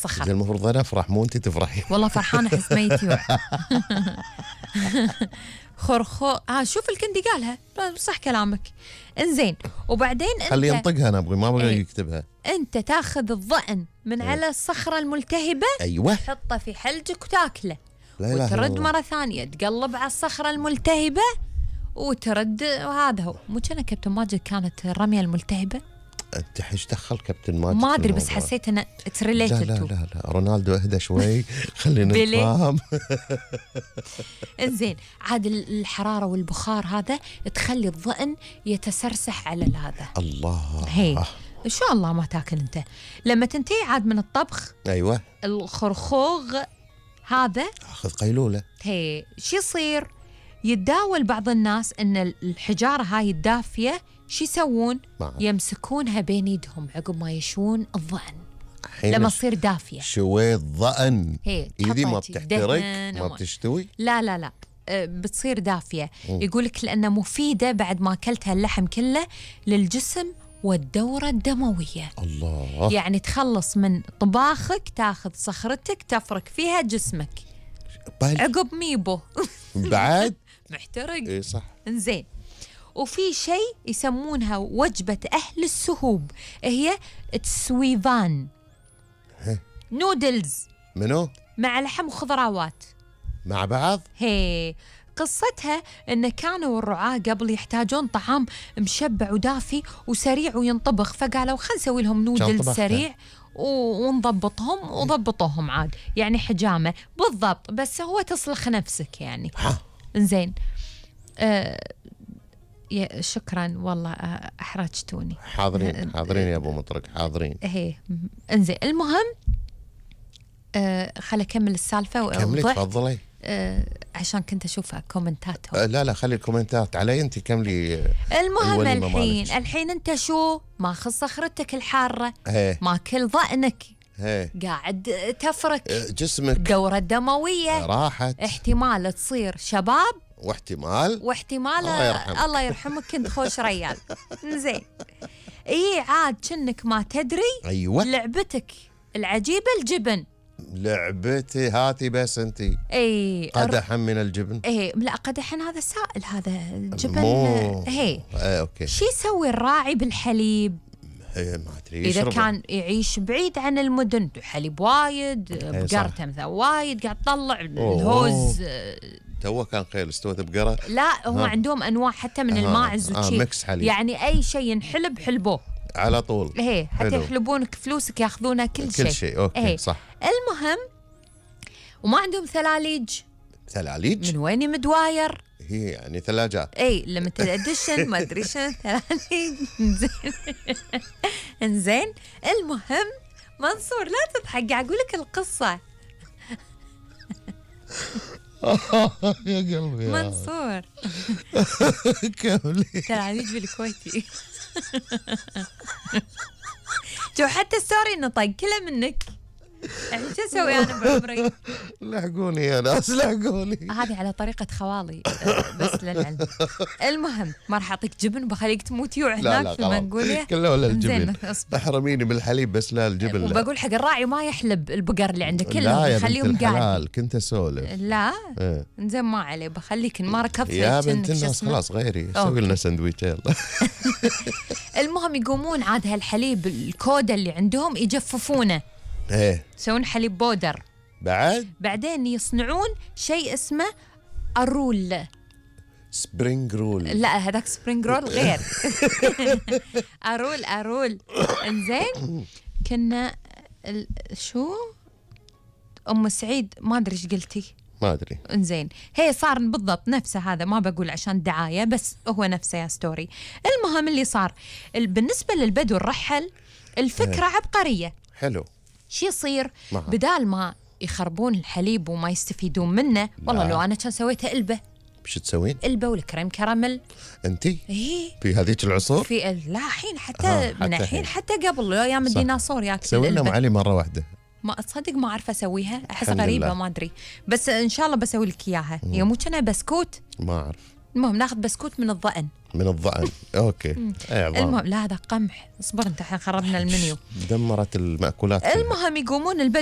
الصخر. المفروض أنا أفرح مو أنت تفرحي. والله فرحانة أحس ما يتيوع. خرخو شوف الكندي قالها صح كلامك. انزين وبعدين انت خلي ينطقها، أنا ما أبغى يكتبها. انت تاخذ الظأن من على الصخرة الملتهبة، أيوة، تحطه في حلجك وتاكله، لا لا وترد مرة ثانية تقلب على الصخرة الملتهبة وترد. وهذا هو. مو كان كابتن ماجد كانت الرمية الملتهبة؟ أنت إيش دخل كابتن ماجد؟ ما أدري بس حسيت أنه اتس ريليتد. لا رونالدو اهدى شوي خلينا نتفاهم. انزين عاد الحرارة والبخار هذا تخلي الظأن يتسرسح على هذا. الله. هي إن شاء الله ما تاكل أنت. لما تنتهي عاد من الطبخ، أيوة، الخرخوغ هذا أخذ قيلولة. هي شو يصير؟ يتداول بعض الناس ان الحجاره هاي الدافيه شو يسوون؟ يمسكونها بين يدهم عقب ما يشون الظأن لما تصير دافيه. شوية ظأن ايدي ما بتحترق ما بتشتوي؟ لا بتصير دافيه. يقولك لانها مفيده بعد ما اكلتها اللحم كله للجسم والدورة الدموية. الله. يعني تخلص من طباخك، تاخذ صخرتك تفرك فيها جسمك عقب ميبو. بعد محترق. اي صح. انزين وفي شيء يسمونها وجبة أهل السهوب، هي تسويفان نودلز. منو؟ مع لحم وخضروات مع بعض. هي قصتها إن كانوا الرعاة قبل يحتاجون طعام مشبع ودافي وسريع وينطبخ، فقالوا خلينا نسوي لهم نودلز سريع ونضبطهم وضبطوهم عاد، يعني حجامة بالضبط، بس هو تصلخ نفسك يعني. إنزين شكرا والله أحرجتوني. حاضرين يا أبو مطرق، حاضرين. هي إنزين المهم خلي أكمل السالفة. كملي تفضلي. عشان كنت أشوف كومنتاتهم. لا خلي الكومنتات علي أنت، كملي. المهم الحين أنت شو ماخذ صخرتك الحارة، ماكل ظأنك، قاعد تفرك جسمك، الدورة الدموية راحت، احتمال تصير شباب واحتمال الله يرحمك كنت خوش ريال. زين اي عاد كأنك ما تدري. أيوة. لعبتك العجيبة الجبن. لعبتي هاتي بس انتي. اي قدحا من الجبن. اي لا قدحا هذا سائل، هذا الجبن. هي اوكي. شو يسوي الراعي بالحليب؟ ما ادري. اذا كان يعيش بعيد عن المدن، حليب وايد، بقرته مثلا وايد قاعد تطلع الهوز. تو كان خيل استوت بقره. لا هم عندهم انواع حتى من الماعز وشي. ميكس حليب. يعني اي شيء ينحلب حلبوه على طول. هي حتى يحلبونك فلوسك ياخذونها كل شيء. اوكي صح. المهم وما عندهم ثلاليج. من وين مدواير؟ هي يعني ثلاجات. اي لما تدشن ما ادري شنو ثلاليج. انزين المهم منصور لا تضحك، قاعد اقول لك القصه. يا قلبي منصور. كملي. ثلاليج بالكويتي. شو حتى ستوري نطق كله منك. يعني شو اسوي انا بعمري؟ لحقوني يا ناس لحقوني. هذه على طريقة خوالي بس للعلم. المهم ما راح اعطيك جبن بخليك تموت يوع هناك في المنقولية كله ولا الجبن. احرميني بالحليب بس لا الجبن. وبقول حق الراعي ما يحلب البقر اللي عنده كلهم، لا يا خليهم قاعد. كنت اسولف. لا انزين ما عليه بخليك ما ركضت يا بنت الناس. خلاص غيري سوي لنا سندويتش يلا. المهم يقومون عاد هالحليب الكودا اللي عندهم يجففونه. يسوون حليب بودر. بعدين يصنعون شيء اسمه الرول. سبرينج رول. لا هذاك سبرينج رول غير. أرول. انزين كنا شو أم سعيد ما أدري إيش قلتي. ما أدري. انزين هي صار بالضبط نفسه هذا، ما بقول عشان دعاية بس هو نفسه يا ستوري. المهم اللي صار بالنسبة للبدو الرحل الفكرة عبقرية. حلو. شو يصير؟ بدال ما يخربون الحليب وما يستفيدون منه، والله لو أنا كان سويتها إلبة. بش تسوين؟ إلبة والكريم كراميل. أنتي؟ إيه. في هذيك العصور؟ في لا حين حتى من الحين حتى قبل أيام الديناصور ياكل. سوي لنا معلي مرة واحدة. ما تصدق ما أعرف أسويها، أحس غريبة ما أدري، بس إن شاء الله بسوي لك إياها. هي مو كنا بسكوت؟ ما أعرف. المهم ناخذ بسكوت من الظأن. اوكي. المهم لا هذا قمح. اصبر انت الحين خربنا المنيو. دمرت المأكولات. المهم يقومون البدو